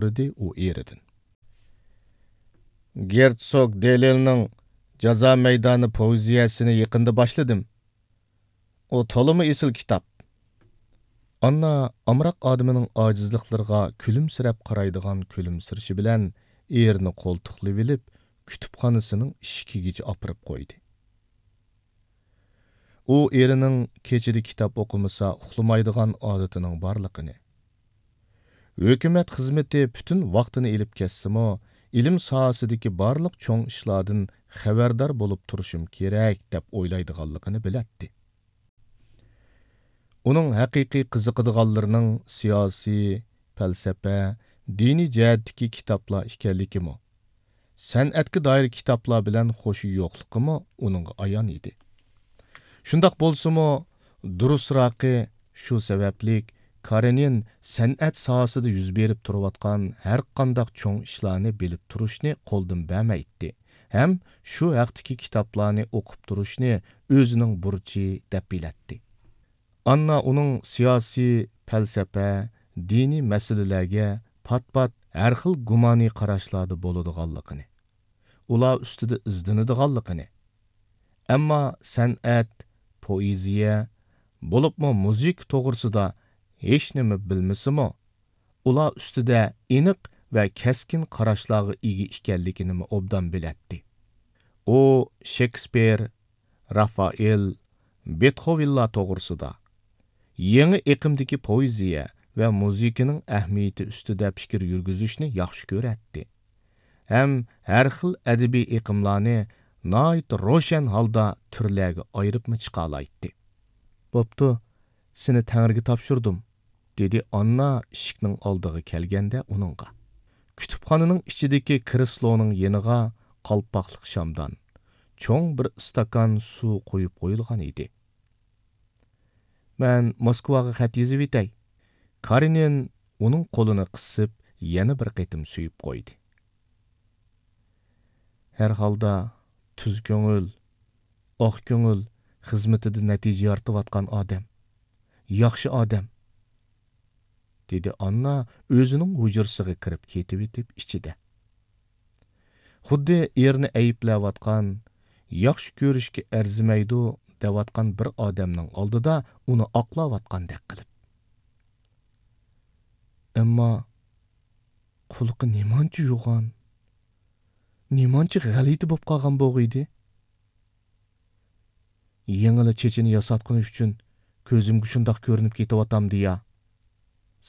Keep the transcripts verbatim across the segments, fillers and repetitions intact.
سورىدى ئۇ ئېرىدىن. گېرتسوگ دېلېلنىڭ جازا مەيدانى پوئېزىيەسىنى يېقىندا باشلىدىم. ئۇ تولىمۇ ئېسىل كىتاب. ئاننا ئامراق ئادىمىنىڭ ئاجىزلىقلىرىغا كۈلۈمسىرەپ قارايدىغان كۈلۈمسىرىشى بىلەن ئېرىنى قولتۇقلىۋېلىپ، كۇتۇپخانىسىنىڭ ئىشىكىگىچە ئاپىرىپ قويدى. ئۇ ئېرىنىڭ كېچىدە كىتاب ئوقۇمىسا ئۇخلىمايدىغان ئادىتىنىڭ بارلىقىنى، ھۆكۈمەت خىزمىتى پۈتۈن ۋاقتىنى ئېلىپ كەتسىمۇ، ئىلىم ساھەسىدىكى بارلىق چوڭ ئىشلاردىن خەۋەردار بولۇپ تۇرۇشۇم كېرەك، دەپ ئويلايدىغانلىقىنى بىلەتتى. ئۇنىڭ ھەقىقىي قىزىقىدىغانلىرىنىڭ سىياسىي، پەلسەپە، دىنىي جەھەتتىكى كىتابلار ئىكەنلىكىمۇ، سەنئەتكە دائىر كىتابلار بىلەن خوشى يوقلۇقىمۇ ئۇنىڭغا ئايان ئىدى. شۇنداق بولسىمۇ، دۇرۇسراقى، شۇ سەۋەبلىك كارېنىن سەنئەت ساھەسىدە يۈز بېرىپ تۇرۇۋاتقان ھەرقانداق چوڭ ئىشلارنى بىلىپ تۇرۇشنى قولدىن بەرمەيتتى ھەم شۇ ھەقتىكى كىتابلارنى ئوقۇپ تۇرۇشنى ئۆزىنىڭ بۇرچى دەپ بىلەتتى. ئاننا ئۇنىڭ سىياسىي، پەلسەپە، دىنىي مەسىلىلەرگە پات-پات ھەر خىل گۇمانىي قاراشلاردا بولىدىغانلىقىنى، ئۇلار ئۈستىدە ئىزدىنىدىغانلىقىنى، ئەمما سەنئەت، پوئېزىيە، بولۇپمۇ مۇزىكا توغرىسىدا ھېچنېمە بىلمىسىمۇ، ئۇلار ئۈستىدە ئېنىق ۋە كەسكىن قاراشلارغا ئىگە ئىكەنلىكىنىمۇ ئوبدان بىلەتتى. ئۇ شېكسپىر، رافائېل، بېتخوۋېنلار توغرىسىدا، يېڭى ئېقىمدىكى پوئېزىيە ۋە مۇزىكىنىڭ ئەھمىيىتى ئۈستىدە پىكىر يۈرگۈزۈشنى ياخشى كۆرەتتى ھەم ھەر خىل ئەدەبىي ئېقىملارنى ناھايىتى روشەن ھالدا تۈرلەرگە ئايرىپمۇ چىقالايتتى. بوپتۇ، سېنى تەڭرىگە تاپشۇردۇم، دېدى ئاننا ئىشىكنىڭ ئالدىغا كەلگەندە ئۇنىڭغا. كۇتۇپخانىنىڭ ئىچىدىكى كرېسلونىڭ يېنىغا قالپاقلىق شامدان، چوڭ بىر ئىستاكان سۇ قويۇپ قويۇلغان ئىدى. مەن موسكۋاغا خەت يېزىۋېتەي. كارېنىن ئۇنىڭ قولىنى قىسىپ، يەنە بىر قېتىم سۆيۈپ قويدى. ھەر ھالدا، تۈز كۆڭۈل، ئاق كۆڭۈل، خىزمىتىدە نەتىجە يارىتىۋاتقان ئادەم، ياخشى ئادەم، دېدى ئاننا ئۆزىنىڭ ھۇجرىسىغا كىرىپ كېتىۋېتىپ ئىچىدە. خۇددى ئېرىنى ئەيىبلەۋاتقان، ياخشى كۆرۈشكە ئەرزىمەيدۇ دەۋاتقان بىر ئادەمنىڭ ئالدىدا ئۇنى ئاقلاۋاتقاندەك قىلىپ. ئەمما قۇلىقى نېمانچە يوغان، نېمانچە غەلىتە بولۇپ قالغان بولغىيدى. يېڭىلا چېچىنى ياساتقىنى ئۈچۈن كۆزۈمگە شۇنداق كۆرۈنۈپ كېتىۋاتامدىيا؟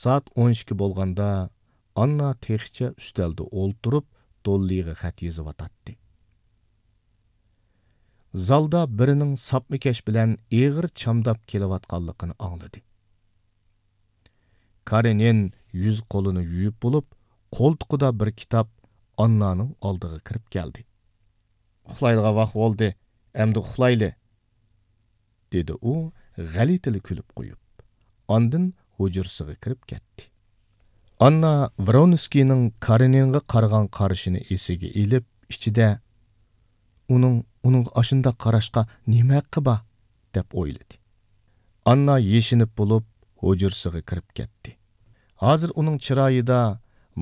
سائەت ئون ئىككى بولغاندا، ئاننا تېخىچە ئۈستەلدە ئولتۇرۇپ، دوللىغا خەت يېزىۋاتاتتى. زالدا بىرىنىڭ ساپمىكەش بىلەن ئېغىر چامداپ كېلىۋاتقانلىقىنى ئاڭلىدى. كارېنىن يۈز-قولىنى يۇيۇپ بولۇپ، قولتۇقىدا بىر كىتاب ئاننانىڭ ئالدىغا كىرىپ كەلدى. «ئۇخلايدىغان ۋاق بولدى، ئەمدى ئۇخلايلى.» دېدى ئۇ غەلىتىلا كۈلۈپ قويۇپ. ئاندىن ھۇجرىسىغا كىرىپ كەتتى. ئاننا ۋرونسكىينىڭ كارېنىنغا قارىغان قارىشىنى ئېسىگە ئېلىپ، ئىچىدە، «ئۇنىڭ ئۇنىڭغا ئاشۇنداق قاراشقا نېمە ھەققى بار؟» دەپ ئويلىدى. ئاننا يېشىنىپ بولۇپ، ھۇجرىسىغا كىرىپ كەتتى. ھازىر ئۇنىڭ چىرايىدا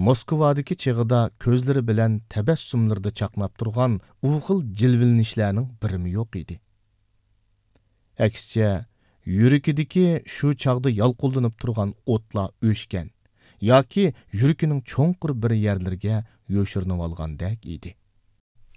موسكۋادىكى چېغىدا كۆزلىرى بىلەن تەبەسسۇملىرىدا چاقناپ تۇرغان ئۇ خىل جىلۋىلىنىشلەرنىڭ بىرىمۇ يوق ئىدى. ئەكسىچە، يۈرىكىدىكى شۇ چاغدا يالقۇنلىنىپ تۇرغان ئوتلار ئۆچكەن ياكى يۈرىكىنىڭ چوڭقۇر بىر يەرلىرىگە يوشۇرۇنۇۋالغاندەك ئىدى.